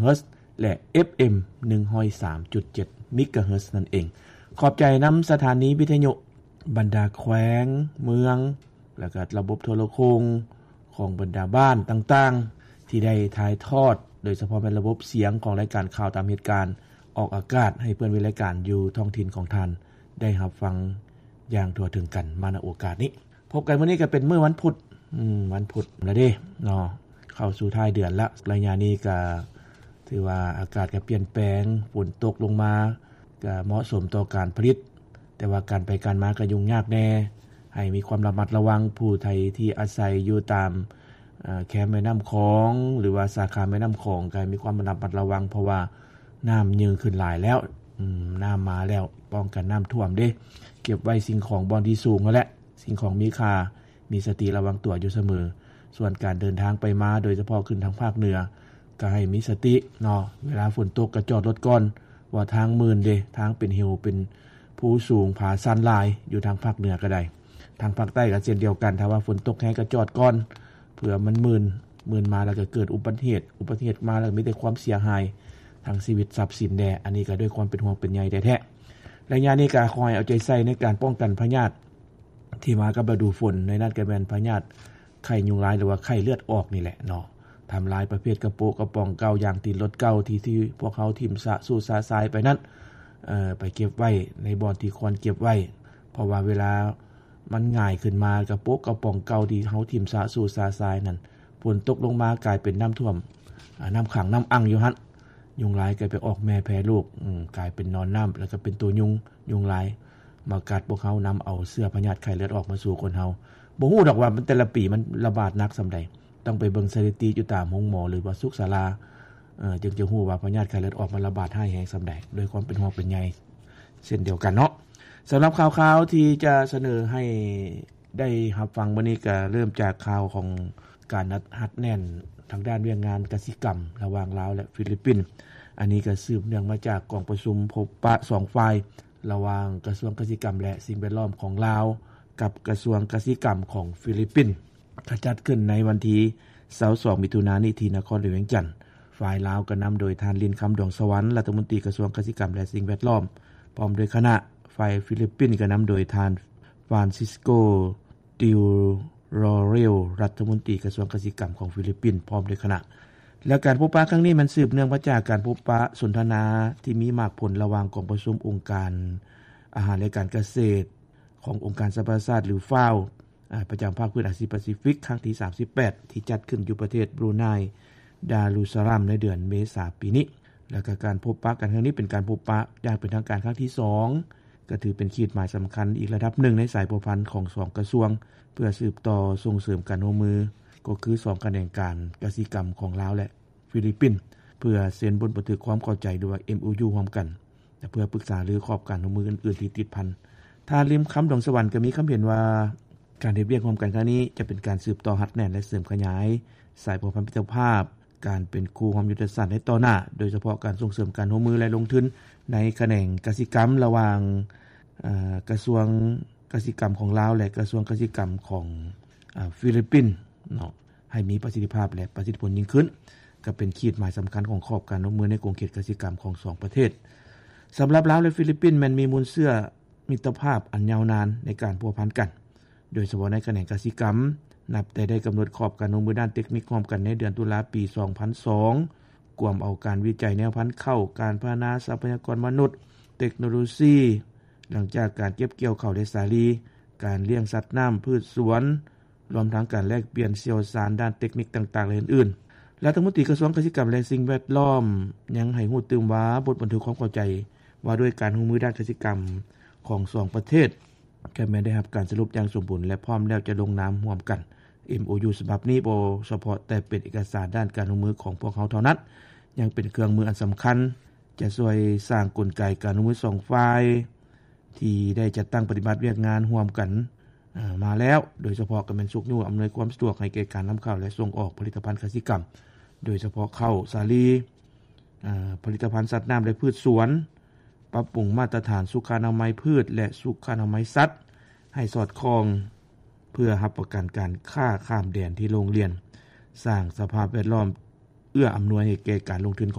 ເຮີດ ແລະ ເອັຟເອັມ ໜຶ່ງຮ້ອຍສາມຈຸດເຈັດ ເມກາເຮີດ ນັ້ນເອງ. ຂອບໃຈນຳສະຖານີວິທະຍຸ, ບັນດາແຂວງ, ເມືອງ ແລ້ວກໍລະບົບໂທລະໂຄ່ງຂອງບັນດາບ້ານຕ່າງໆ ທີ່ໄດ້ຖ່າຍທອດ, ໂດຍສະເພາະແມ່ນລະບົບສຽງຂອງລາຍການຂ່າວຕາມເຫດການ ອອກອາກາດໃຫ້ເພື່ອນເວລາການຢູ່ທ້ອງຖິ່ນຂອງທ່ານໄດ້ຮັບຟັງຢ່າງທົ່ວເຖິງກັນມາໃນໂອກາດນີ້. ພົບກັນມື້ນີ້ກໍເປັນມື້ວັນພຸດ, ອືມ, ວັນພຸດແລ້ວເດ້ເນາະ, ເຂົ້າສູ່ທ້າຍເດືອນລະ. ໄລຍະນີ້ກໍຖືວ່າອາກາດກໍປ່ຽນແປງ, ຝົນຕົກລົງມາ ກໍເໝາະສົມຕໍ່ການຜະລິດ, ແຕ່ວ່າການໄປການມາກໍຫຍຸ້ງຍາກແດ່. ໃຫ້ມີຄວາມລະມັດລະວັງ, ຜູ້ໃດທີ່ອາໄສຢູ່ຕາມ, ເອີ, ແຄມແມ່ນ້ຳຂອງ ຫຼືວ່າສາຂາແມ່ນ້ຳຂອງ ກໍໃຫ້ມີຄວາມລະມັດລະວັງ, ເພາະວ່ານ້ຳຍິ່ງຂຶ້ນຫຼາຍແລ້ວ, ອືມ, ນ້ຳມາແລ້ວ, ປ້ອງກັນນ້ຳຖ້ວມເດ້. ເກັບໄວ້ສິ່ງຂອງບ່ອນທີ່ສູງຫັ້ນແຫຼະ, ສິ່ງຂອງມີຄ່າ, ມີສະຕິລະວັງຕົວຢູ່ສະເໝີ. ສ່ວນການເດີນທາງໄປມາ, ໂດຍສະເພາະຂຶ້ນທາງພາກເໜືອ, ກໍໃຫ້ມີສະຕິເນາະ, ເວລາຝົນຕົກກໍຈອດລົດກ່ອນ, ເພາະວ່າທາງມື່ນເດ້, ທາງເປັນເຫວເປັນພູສູງຜາຊັນຫຼາຍ, ຢູ່ທາງພາກເໜືອກໍໄດ້. ທາງພາກໃຕ້ກໍເຊັ່ນດຽວກັນ, ຖ້າວ່າຝົນຕົກແຮງກໍຈອດກ່ອນ, ເພື່ອມັນມື່ນ, ມື່ນມາແລ້ວກໍເກີດອຸບັດຕິເຫດ, ອຸບັດຕິເຫດມາແລ້ວກໍມີແຕ່ຄວາມເສຍຫາຍທາງຊີວິດຊັບສິນແດ່. ອັນນີ້ກໍດ້ວຍຄວາມເປັນຫ່ວງເປັນໃຍແທ້ໆ. ໄລຍະນີ້ກໍຂໍໃຫ້ເອົາໃຈໃສ່ໃນການປ້ອງກັນພະຍາດ ທີ່ມາກັບລະດູຝົນ, ໃນນັ້ນກໍແມ່ນພະຍາດໄຂ້ຍຸງລາຍ ຫຼືວ່າໄຂ້ເລືອດອອກນີ້ແຫຼະເນາະ, ທຳລາຍປະເພດກະໂປະກະປ໋ອງເກົ່າ, ຢາງຕີນລົດເກົ່າທີ່ ທີ່ພວກເຮົາຖິ້ມຊະຊູຊະຊາຍໄປນັ້ນ, ເອີ, ໄປເກັບໄວ້ໃນບ່ອນທີ່ຄວນເກັບໄວ້, ເພາະວ່າເວລາມັນຫງາຍຂຶ້ນມາ, ກະໂປະກະປ໋ອງເກົ່າທີ່ເຮົາຖິ້ມຊະຊູຊະຊາຍນັ້ນ, ຝົນຕົກລົງມາກາຍເປັນນ້ຳຖ້ວມ, ອາ, ນ້ຳຂັງນ້ຳອັ່ງຢູ່ຫັ້ນ, ຍຸງລາຍກໍໄປອອກແມ່ແຜ່ລູກ, ອືມ, ກາຍເປັນໜອນນ້ຳ ແລ້ວກໍເປັນໂຕຍຸງ, ຍຸງລາຍ ມາກັດພວກເຮົາ, ນຳເອົາເຊື້ອພະຍາດໄຂ້ເລືອດອອກມາສູ່ຄົນເຮົາ. ບໍ່ຮູ້ດອກວ່າມັນແຕ່ລະປີມັນລະບາດໜັກສ່ຳໃດ, ຕ້ອງໄປເບິ່ງສະຖິຕິຢູ່ຕາມໂຮງໝໍ ຫຼືວ່າສຸກສາລາ, ເອີ, ຈຶ່ງຈະຮູ້ວ່າພະຍາດໄຂ້ເລືອດອອກມັນລະບາດຮ້າຍແຮງສ່ຳໃດ, ດ້ວຍຄວາມເປັນຫ່ວງເປັນໃຍເຊັ່ນດຽວກັນເນາະ. ສຳລັບຂ່າວຄາວທີ່ຈະສະເໜີໃຫ້ໄດ້ຮັບຟັງມື້ນີ້ ກໍເລີ່ມຈາກຂ່າວຂອງການຮັດແໜ້ນທາງດ້ານວຽກງານກະສິກຳລະຫວ່າງລາວ ແລະ ຟີລິບປິນ. ອັນນີ້ກໍສືບເນື່ອງມາຈາກກອງປະຊຸມພົບປະສອງຝ່າຍ ລະຫວ່າງກະຊວງກະສິກຳ ແລະ ສິ່ງແວດລ້ອມຂອງລາວ ກັບກະຊວງກະສິກຳຂອງຟີລິບປິນ ຈະຈັດຂຶ້ນໃນວັນທີຊາວສອງ ມິຖຸນານີ້ ທີ່ນະຄອນຫຼວງວຽງຈັນ. ຝ່າຍລາວກໍນຳໂດຍທ່ານ ລິນຄຳ ດວງສະຫວັນ ລັດຖະມົນຕີກະຊວງກະສິກຳ ແລະ ສິ່ງແວດລ້ອມ ພ້ອມດ້ວຍຄະນະ, ຝ່າຍຟີລິບປິນກໍນຳໂດຍທ່ານ ຟານຊິສໂກ ຕິວໂຣເຣວ ລັດຖະມົນຕີກະຊວງກະສິກຳຂອງຟີລິບປິນ ພ້ອມດ້ວຍຄະນະ. ແລະ ການພົບປະຄັ້ງນີ້ແມ່ນສືບເນື່ອງມາຈາກການພົບປະສົນທະນາທີ່ມີໝາກຜົນລະຫວ່າງກອງປະຊຸມອົງການອາຫານ ແລະ ການກະເສດຂອງອົງການສະຫະປະຊາຊາດ ຫຼື ຟາວ ອາ ປະຈຳພາກພື້ນອາຊີພາຊີຟິກ ຄັ້ງທີສາມສິບແປດ ທີ່ຈັດຂຶ້ນຢູ່ປະເທດບຣູໄນ ດາລຸສະລາມ ໃນເດືອນເມສາປີນີ້. ແລະ ກະການພົບປະກັນຄັ້ງນີ້ເປັນການພົບປະຢ່າງເປັນທາງການຄັ້ງທີສອງ ກໍຖືເປັນຂີດໝາຍສຳຄັນອີກລະດັບໜຶ່ງໃນສາຍພົວພັນຂອງສອງກະຊວງ ເພື່ອສືບຕໍ່ສົ່ງເສີມການຮ່ວມມື ກໍຄືສອງຂະແໜງການກະສິກຳຂອງລາວ ແລະ ຟີລິບປິນ ເພື່ອເຊັນບົດບັນທຶກຄວາມເຂົ້າໃຈ ຫຼືວ່າ ເອັມໂອຢູ ຮ່ວມກັນ ແລະ ເພື່ອປຶກສາຫາລືຂອບການຮ່ວມມືອື່ນໆທີ່ຕິດພັນ. ທ່ານ ລິນຄຳ ດວງສະຫວັນ ກໍມີຄຳເຫັນວ່າ ການເຮັດວຽກຮ່ວມກັນຄັ້ງນີ້ ຈະເປັນການສືບຕໍ່ຮັດແໜ້ນ ແລະ ເສີມຂະຫຍາຍສາຍພົວພັນມິດຕະພາບ ການເປັນຄູ່ຮ່ວມຍຸດທະສາດໃນຕໍ່ໜ້າ, ໂດຍສະເພາະການສົ່ງເສີມການຮ່ວມມື ແລະ ລົງທຶນໃນຂະແໜງກະສິກຳລະຫວ່າງ, ເອີ, ກະຊວງກະສິກຳຂອງລາວ ແລະ ກະຊວງກະສິກຳຂອງ, ເອີ, ຟີລິບປິນເນາະ ໃຫ້ມີປະສິດທິພາບ ແລະ ປະສິດທິຜົນຍິ່ງຂຶ້ນ, ກໍເປັນຂີດໝາຍສຳຄັນຂອງຂອບການຮ່ວມມືໃນຂົງເຂດກະສິກຳຂອງສອງປະເທດ. ສຳລັບລາວ ແລະ ຟີລິບປິນ ແມ່ນມີມູນເຊື້ອມິດຕະພາບອັນຍາວນານໃນການພົວພັນກັນ ໂດຍສະເພາະໃນຂະແໜງກະສິກຳ, ນັບແຕ່ໄດ້ກຳນົດຂອບການຮ່ວມມືດ້ານເຕັກນິກຮ່ວມກັນໃນເດືອນຕຸລາປີສອງພັນສອງ ກວມເອົາການວິໄຈແນວພັນເຂົ້າ, ການພັດທະນາຊັບພະຍາກອນມະນຸດ, ເຕັກໂນໂລຊີ, ຫຼັງຈາກການເກັບກ່ຽວເຂົ້າ ແລະ ສາລີ, ການລ້ຽງສັດນ້ຳ, ພືດສວນ, ລວມທັງການແລກປ່ຽນຊ່ຽວຊານດ້ານເຕັກນິກຕ່າງໆ ແລະ ອື່ນໆ. ລັດຖະມົນຕີກະຊວງກະສິກຳ ແລະ ສິ່ງແວດລ້ອມ ຍັງໃຫ້ຮູ້ຕື່ມວ່າ ບົດບັນທຶກຄວາມເຂົ້າໃຈວ່າດ້ວຍການຮ່ວມມືດ້ານກະສິກຳຂອງສອງປະເທດ ກໍແມ່ນໄດ້ຮັບການສະຫຼຸບຢ່າງສົມບູນ ແລະ ພ້ອມແລ້ວຈະລົງນາມຮ່ວມກັນ. ເອັມໂອຢູ ສະບັບນີ້ບໍ່ສະເພາະແຕ່ເປັນເອກະສານດ້ານການຮ່ວມມືຂອງພວກເຮົາເທົ່ານັ້ນ, ຍັງເປັນເຄື່ອງມືອັນສຳຄັນ ຈະຊ່ວຍສ້າງກົນໄກການຮ່ວມມືສອງຝ່າຍ ທີ່ໄດ້ຈັດຕັ້ງປະຕິບັດວຽກງານຮ່ວມກັນ, ເອີ, ມາແລ້ວ, ໂດຍສະເພາະກໍແມ່ນຊຸກຍູ້ອຳນວຍຄວາມສະດວກໃຫ້ແກ່ການນຳເຂົ້າ ແລະ ສົ່ງອອກຜະລິດຕະພັນກະສິກຳ, ໂດຍສະເພາະເຂົ້າ, ສາລີ, ເອີ, ຜະລິດຕະພັນສັດນ້ຳ ແລະ ພືດສວນ, ປັບປຸງມາດຕະຖານສຸຂະອະນາໄມພືດ ແລະ ສຸຂະອະນາໄມສັດ ໃຫ້ສອດຄ່ອງ ເພື່ອຮັບປະກັນການຄ້າຂ້າມແດນທີ່ໂລ່ງລ່ຽນ, ສ້າງສະພາບແວດລ້ອມເອື້ອອຳນວຍໃຫ້ແກ່ການລົງທຶນຂ